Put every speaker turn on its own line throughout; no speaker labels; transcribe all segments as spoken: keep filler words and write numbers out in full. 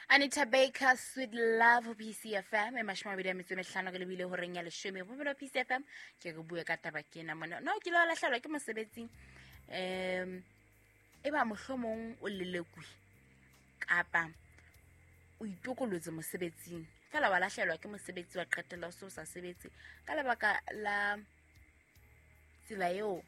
Anita Baker, Sweet Love, P C F M. E mashome a mabedi a metso e mehlano ke lebile horeng ya leshome. Bophelo P C F M, ke re bue ka taba ke ena mona. No, ke lo lahlehelwa ke mosebetsing. Um, e ba mohlomong o lelekwe kapa o itokolotse mosebetsing. Fela wa lahlehelwa ke mosebetsi wa qetella o se o sa sebetse ka lebaka la tsela eo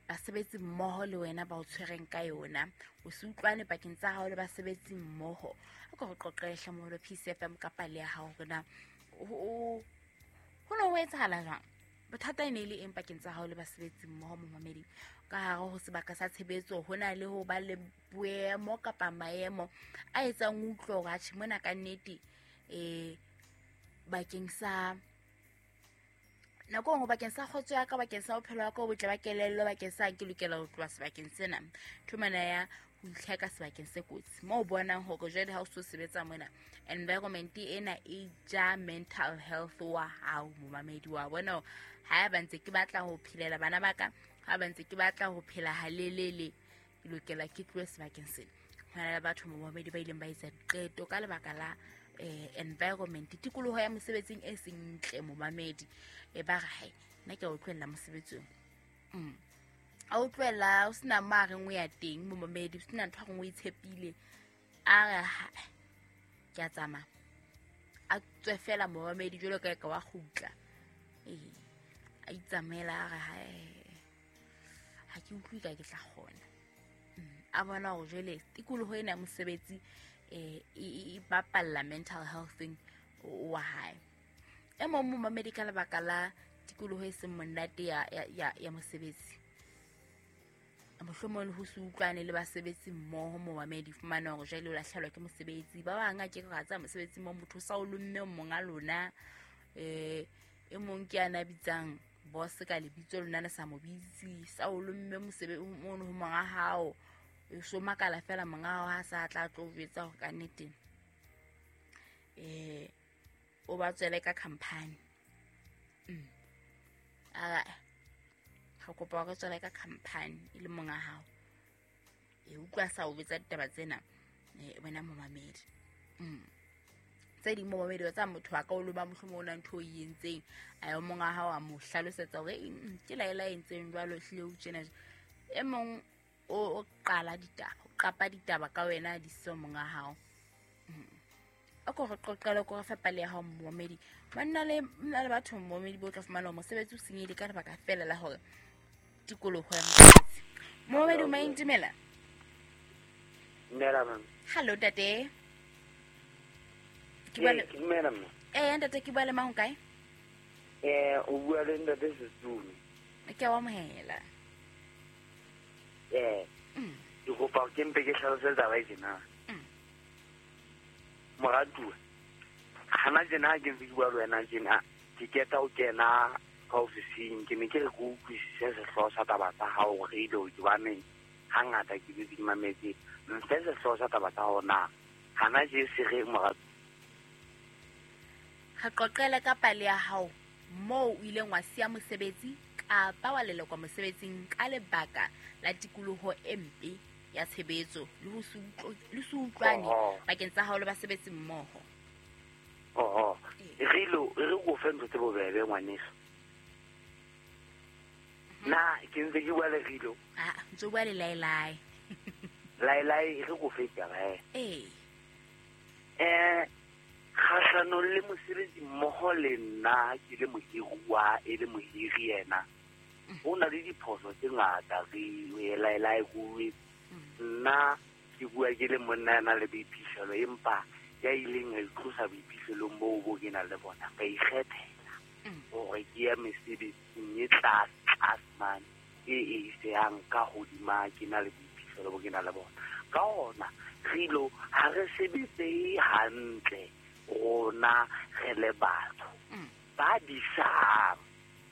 basebetsi mmoho le wena ba o tshwereng ka yona. O se utlwane pakeng tsa hao le basebetsi mmoho. A ko re qoqele moholo P C F M ka pale ya hao hore na ho no ho etsahala jwang. Bothata e ne e le eng pakeng tsa hao le basebetsi mmoho momamedi? Ka hare ho sebaka sa tshebetso ho na le ho ba le boemo kapa maemo a etsang o utlwe hore atjhe mona ka nnete eh bakeng sa nako nngwe bakeng sa kgotso ya ka, bakeng sa bophelo ba ka bo botle ba kelello, bakeng sa ke lokela ho tloha sebakeng sena. Thomana ya ho itlheka sebakeng se kotsi moo o bonang hore jwale ha o so sebetsa mona environment ena e ja mental health wa hao momamedi wa bona. Ha ba ntse ke batla ho phelela bana ba ka, ha ba ntse ke batla ho phela halelele, ke lokela ke tlohe sebakeng sena. Ho na le batho momamedi ba ileng ba etsa diqeto ka lebaka la eh environment, tikoloho ya mosebetsing e seng ntle momamedi. E ba re hai nna ke a o tlohella mosebetsing. Mm. A o tlohella o sena mo a reng o ya teng momamedi, o sena ntho a reng o itshepile. A re ha ke a tsamaya, a tswe fela momamedi jwalo ka ka wa kgutla. Eh a itsamaela a re hai ha ke utlwe ka ke tla kgona. A bona hore jwale tikoloho ena ya mosebetsi eh e bapalla mental health wa hae. E mong momamedi ka lebaka la tikoloho e seng monate ya ya ya mosebetsi, mohlomong ho se utlwane le basebetsi mmoho momamedi, fumana hore jwale o lahlehelwa ke mosebetsi. Ba bang a ke re tsa mosebetsi mo motho sa o lomme monga lona. Eh e mong ke ana bitsang boss ka lebitso lona le sa mo bitsi, sa o lomme mosebetsi mono ho monga hao. E so makala fela monga hao ha sa tla tlo jwetsa hore ka nnete eh o ba tswele ka company. Mm. Ara ha kopa hore tswele ka company e le monga hao. E utlwa sa o betsa ditaba tsena eh wena momamedi. Mm. Tse ding momamedi wa tsa motho wa ka o loma mohlomong o na ntho e entseng, a yo monga hao a mo hlalosetsa hore ke laela e entseng jwalo hlile o tjena. E mong o qala ditaba, o qapa ditaba ka wena di se monga hao. A ko re qoqele ko re fa pale ya hao momamedi. Banna le nna le batho momamedi bo tla fumana mosebetsi o senyehile ka lebaka fela la hore tikoloho ya mosebetsi. Momamedi o maintumela.
Dumela mama.
Hello ntate. Ke
bua le dumela mama.
Eh ntate ke bua le mang kae?
Eh o bua le ntate Sesumi.
Ke a o amohela.
Eh ke kopa ke mpe ke hlalose taba e tjena. Moratuwa, hana tjena ke ntse ke bua le wena tjena, ke keta ho kena ka ofising, ke ne ke re ke utlwisise sehlooho sa taba tsa hao radio hobane hangata ke dutse ke mametse. Mfe sehlooho sa taba tsa hao na hana je se re moratuwa.
Re qoqele ka pale ya hao moo o ileng wa siya mosebetsi kapa wa lelekwa mosebetsing ka lebaka la tikoloho e mpe ya tshebetso le ho se le se utlwane pakeng tsa hao le basebetsi mmoho.
Oho, re lo re go fe ntho tse bobebe ngwaneso. Na ke ntse ke bua le Rilo.
Ah, ntse bua le Lailai.
Lailai re go fe taba eh.
Eh.
Eh kgahlanong le mosebetsi mmoho le nna ke le mohiruwa e le mohiri yena. Ho na le diphoso tse ngata re Lailai go nna ke bua ke le monna ya nang le boiphihlelo empa ya ileng a itlosa boiphihlelong boo bo ke nang le bona ka ikgethela hore ke ya mesebetsing e tlase tlase mane e e isehang ka hodima ke na le boiphihlelo bo ke nang le bona. Ka hona Rilo ha re sebetse hantle rona re le batho ba disang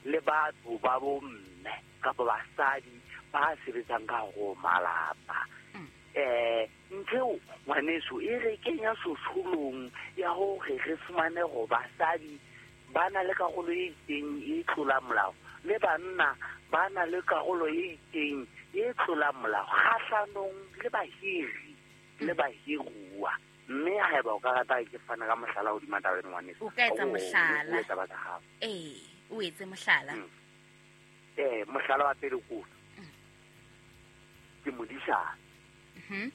le batho ba bomme kapa basadi ba sebetsang ka ho malapa. Eh ntho ngwaneso e re kenya sosholong ya hore re fumane hore basadi ba na le karolo e itseng e tlolang molao le banna ba na le karolo e itseng e tlolang molao kgahlanong le bahiri le bahiruwa. Mme haeba o ka rata ke fana ka mohlala hodima taba eno ngwaneso.
O ka etsa mohlala.
O etsa batla hao.
Eh, o etse mohlala.
Eh, mohlala wa pele ko. Ke modisana.
Mhm.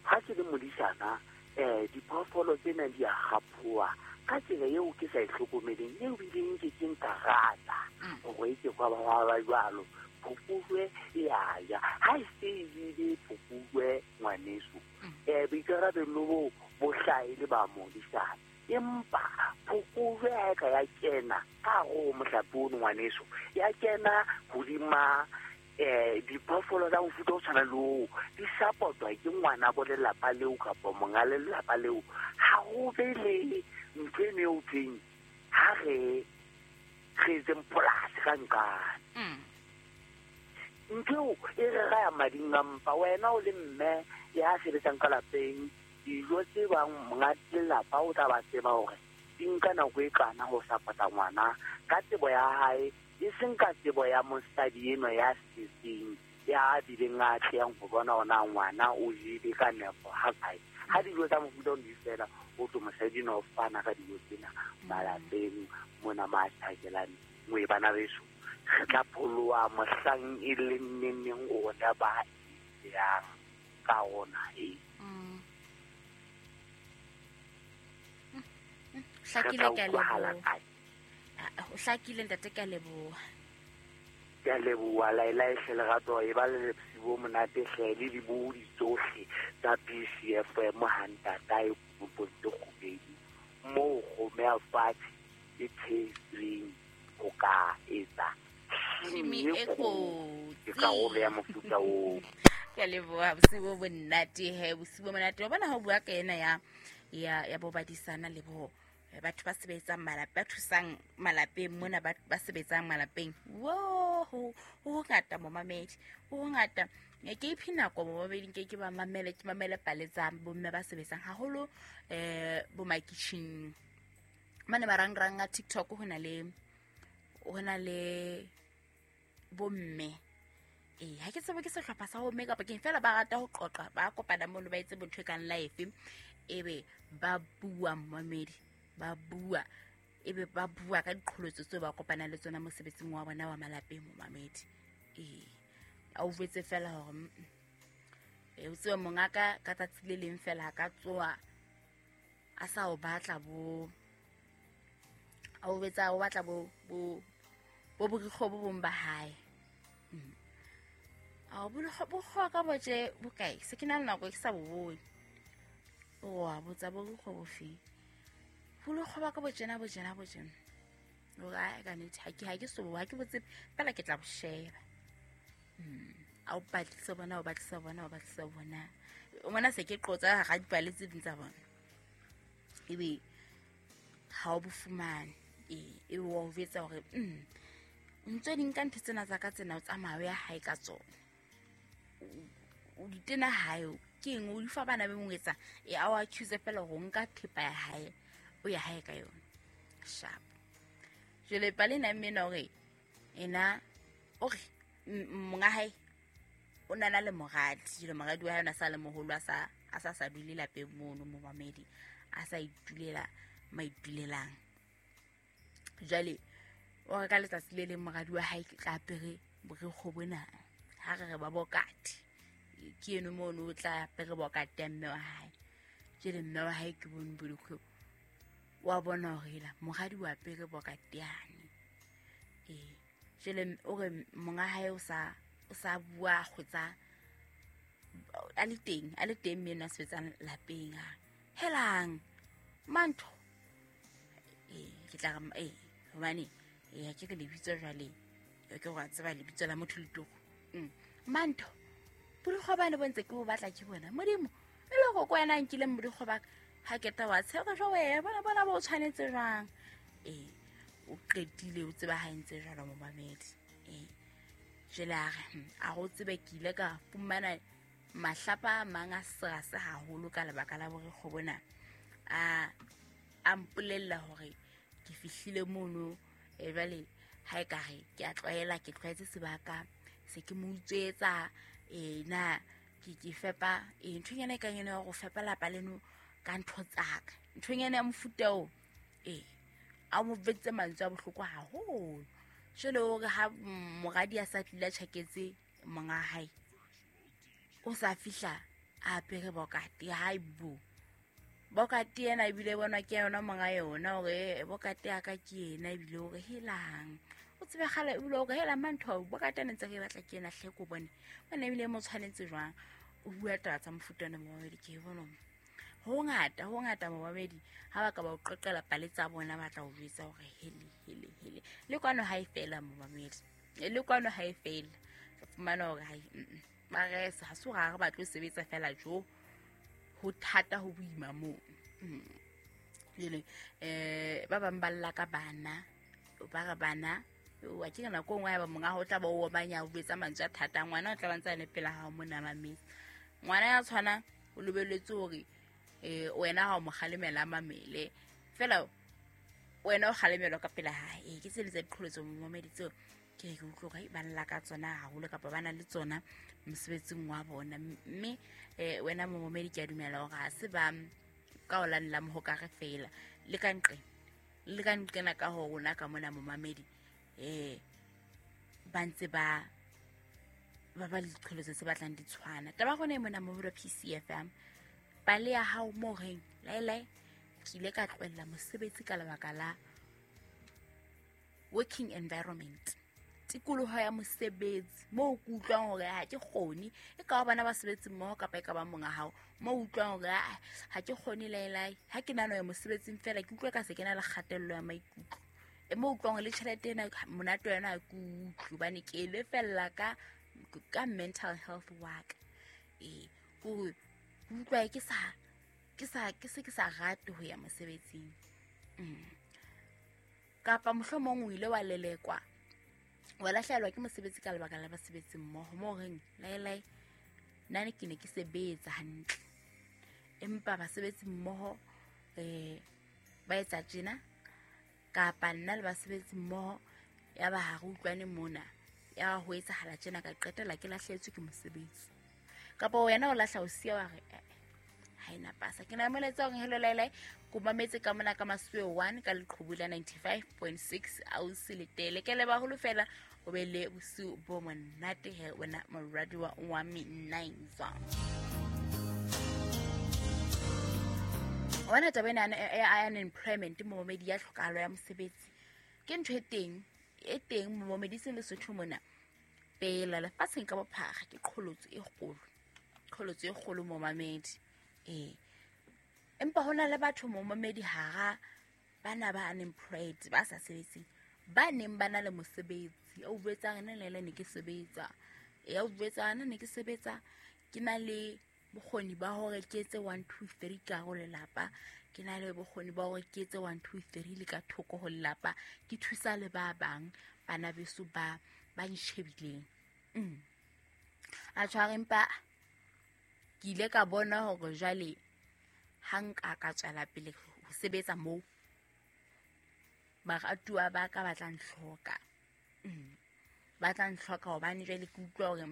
Ha ke le modisana, eh diphoofolo tsena di a kgaphoa ka tsela eo ke sa e hlokomeleng, eo bileng ke ke nka rata hore ke kwa ba ba jwalo. Phokojwe ya ya ha e se ile phokojwe ngwaneso. Eh boikarabelo bo bo hlaele ba modisana. Empa phokojwe ha e ka ya kena ka hare ho mohlape ono ngwaneso, ya kena hodima eh diphoofolo tsa mofuta o tshwana le oo, di support-wa ke ngwana bo lelapa leo kapa monga lelapa leo. Ha ho be le ntho eno eo thweng ha re re etseng polasi ka nqane. Ntho eo e re raya mading a mpa. Wena o le mme ya sebetsang ka lapeng, dijo tse bang monga lelapa o tla ba tseba hore di nka nako e kana ho support-a ngwana ka tsebo ya hae, e seng ka tsebo ya mosadi eno ya setseng ya bileng a tleyang ho bona ona ngwana o jele ka nepo ha kae. Ha dijo tsa mofuta ono di fela, o tlo mosadi eno o fana ka dijo tsena malapeng mona ma thakelane. Moe bana beso, re tla pholoha mohlang e leng neneng rona ba yang ka ona e.
Hlakile ka leboha. O hlakile ntate, ka leboha.
Ke a leboha Laila e hle lerato e ba le bosiu bo monate hle le dibohodi tsohle tsa B C F M ha ntatae kopong tse kgubedi moo kgomo ya fatshe e thehetsweng ho ka etsa
Tshimi e kotsi.
Ke karolo ya mofuta oo.
Ke a leboha, bosiu bo monate he, bosiu bo monate. Wa bona ha o bua ka ena ya ya ya bo badisana le bo batho ba sebetsang malapeng, ba thusang malapeng mona, ba ba sebetsang malapeng. Wo ho ho ngata momamedi, ho ngata. Ke iphe nako momamedi, nke ke ba mamele, ke mamele pale tsa bomme ba sebetsang haholo eh bo makitjheng. Mane marangrang a TikTok ho na le ho na le bomme. Eh ha ke tsebe ke sehlopha sa bomme kapa ke fela ba rata ho qoqa, ba kopana mono ba etse bontho e kang live, ebe ba bua momamedi, ba bua ebe ba bua ka diqholotso tseo ba kopanang le tsona mosebetsing wa bona wa malapeng momamedi. Eh a o jwetse fela hore eh o tsebe mongaka ka tsatsi le leng fela ha ka tsoa a sa o batla bo a o betsa o batla bo bo bo borikgo bo bong ba hae. A o borikgo bo ka boje bokae se ke na le nako ke sa bo bone. O a botsa borikgo bo fe. Borikgo ba ka bojena bojena bojena. O ra ka nnete ha ke ha ke so ha ke botse fela ke tla bo sheba. Mm. A o batlisa bona o batlisa bona o batlisa bona. O mona se ke qotsa ga dipale tse ding tsa bona. Ebe ha o bo fumane e e o vetsa hore mm ntse di nka ntho tsena tsa ka tsena o tsamaya ya hae ka tsona. O di tena hae ke eng o di fa bana be mong etsa e a o accuse fela hore o nka thepa ya hae o ya hae ka yona. Sharp. Jwale pale na mme na hore ena o re monga hae o na na le moradi, jwale moradi wa hae ona sa le moholo a sa a sa sa dule lapeng mono momamedi, a sa itulela maitulelang. Jwale o re ka letsatsi le leng moradi wa hae ke tla apere borikgwe bona, ha re re ba bokate ke eno mono o tla apere bokate ya mme wa hae. Jwale mme wa hae ke bone borikgwe wa bona hore ela moradi wa apere bokate yane. Eh jwale o re monga hae o sa o sa bua kgotsa a le teng a le teng mme ena sebetsang lapeng a helang mantho eh ke tla re eh hobane eh ke re lebitso jwale ke go tseba lebitso la motho le toko. Mm mantho borikgwe bane bo ntse ke bo batla ke bona modimo e le go kwena nkile borikgwe ba ha ke ta wa tshega jwa wena bona bona bo tshwanetse jwang. Eh o qetile o tseba ha ntse jwalo momamedi. Eh jwale a re a go tsebe ke ile ka fumana mahlapa a mang a serase haholo ka lebaka la borikgwe bona. A a mpolella hore ke fihlile mono e jwale ha e ka re ke a tlwaela ke tlwaetse sebaka se ke mo utswetsa e na ke ke fepa e nthonyana e kang ena ya go fepa lapa leno ka ntho tsaka nthonyana ya mofuta o ee a mo betse mantswe a bohloko haholo. Jwale hore ha moradi a sa tlile a tjhaketse monga hae o sa fihla a apere bokate hai bo bokate ena ebile bonwa ke yona monga yona hore bokate ya ka ke ena ebile hore helang o tsebe kgale ebile hore hela mantho bokate ena ntse re batla ke ena hle ko bone bona ebile mo tshwanetse jwang o bua taba tsa mofuta ona momamedi ke bona ho ngata ho ngata momamedi ha ba ka ba o qoqela pale tsa bona ba tla o jwetsa hore hele hele hele le kwano ha e fela momamedi le kwano ha e fela fumana hore hai ba re ha se hore ha re batle ho sebetsa fela jo ho thata ho boima moo. Jwale eh ba bang ba lla ka bana ba re bana wa ke nako nngwe ya ba monga ho tla ba o omanya o betsa mantswe a thata ngwana o tla ba ntse a le pela hao mona mametse ngwana ya tshwana o lebelletse hore eh wena ha o mo kgalemela mamele fela wena o kgalemelwa ka pela hae. Ke tsele tsa diqholotso momamedi tseo ke ke utlwa hore ba lla ka tsona haholo kapa ba na le tsona mosebetsing wa bona mme eh wena momamedi ke a dumela hore ha se ba ka o lanela mohokare fela le ka nqe le ka nqena ka ho rona ka mona momamedi eh ba ntse ba ba ba le diqholotso tse batlang di tshwana. Taba gone e mona mo P C F M pale ya hao mo reng laelae ke ile ka tlohella mosebetsi ka lebaka la working environment tikoloho ya mosebetsi moo ke utlwang hore ha ke kgone e ka ba bana ba sebetsi mmoho kapa e ka ba monga hao moo utlwang hore ha ke kgone laelae ha ke nano ya mosebetsing fela ke utlwa ka se ke na le kgatello ya maikutlo e moo utlwang le tjhelete ena monate yona ha ke utlwe hobane ke e lefella ka ka mental health wa ka ee ko utlwa ke sa ke sa ke se ke sa rate ho ya mosebetsing. Kapa mohlomong o ile wa lelekwa wa lahlehelwa ke mosebetsi ka lebaka la basebetsi mmoho moo reng laelae nna ne ke ne ke sebetsa hantle empa basebetsi mmoho eh ba etsa tjena kapa nna le basebetsi mmoho ya ba ha re utlwane mona ya ho etsahala tjena ka qetela ke lahlehetswe ke mosebetsi kapa wena o lahla o siya wa re ha ena pasa ke na moletsa hore hello laelae ko mametse ka mona ka masuwe one ka leqhubu la ninety-five point six ausi letele ke leba holo fela o be le bosiu bo monate he wena moradiwa wa Minaiza. Wena taba ena ya unemployment momamedi ya tlhokahalo ya mosebetsi ke ntho e teng e teng momamedi seng Lesotho mona pela lefatsheng ka bophara ke qholotso e kgolo qholotso e kgolo momamedi ee empa hona le batho momamedi hara bana ba unemployed ba sa sebetseng ba neng ba na le mosebetsi o betsang nna le ne ke sebetsa ya o betsang nna ne ke sebetsa ke na le bokgoni ba hore ke etse one two three ka ho lelapa ke na le bokgoni ba hore ke etse one two three le ka thoko ho lelapa ke thusa le ba bang bana beso ba ba ntjhebileng mm a tshware empa ke ile ka bona hore jwale ha nka ka tswela pele ho sebetsa moo baratuwa ba ka ba tla ntlhoka mm ba tla ntlhoka hobane jwale ke utlwa hore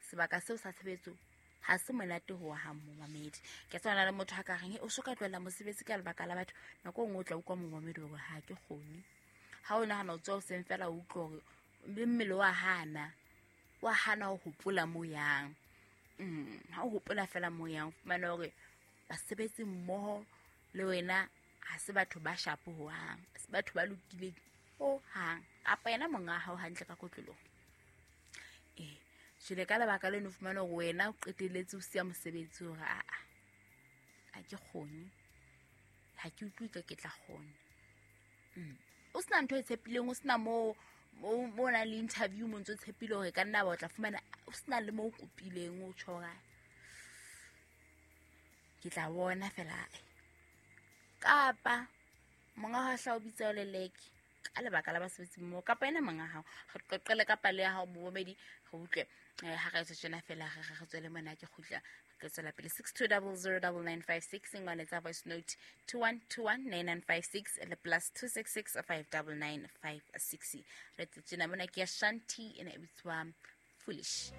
sebaka seo sa tshebetso ha se monate ho hang momamedi ke tswana le motho a ka reng o so ka tlohella mosebetsi ka lebaka la batho nako e nngwe o tla utlwa momamedi hore ha ke kgone ha o nahana o tswa hoseng fela o utlwa hore le mmele wa hana wa hana ho hopola mo yang mm ha o hopola fela mo yang fumana hore basebetsi mmoho le wena ha se batho ba shapo ho hang se batho ba lokileng ho hang kapa yena monga hao hantle ka kotloloho eh jwale ka lebaka leno fumana hore wena o qetelletse o siya mosebetsi hore a a ha ke kgone ha ke utlwe ka ke tla kgona mm o sena ntho e tshepileng o sena mo mo na le interview mo ntse tshepile hore ka nna ba o tla fumana o sena le mo o kopileng o tjho hore ke tla bona fela kapa monga ha hla o bitsa o leleke ka lebaka la basebetsi mmoho kapa ena monga hao re qoqele ka pale ya hao momamedi re utlwe ha re tswe tjena fela re re tswele mona ke kgutla re tswela pele six two zero zero nine nine five six ngwane tsa voice note two one two one nine nine five six le plus two six six five nine nine five six re tjena mona ke ya Shanti ena e bitswa Foolish.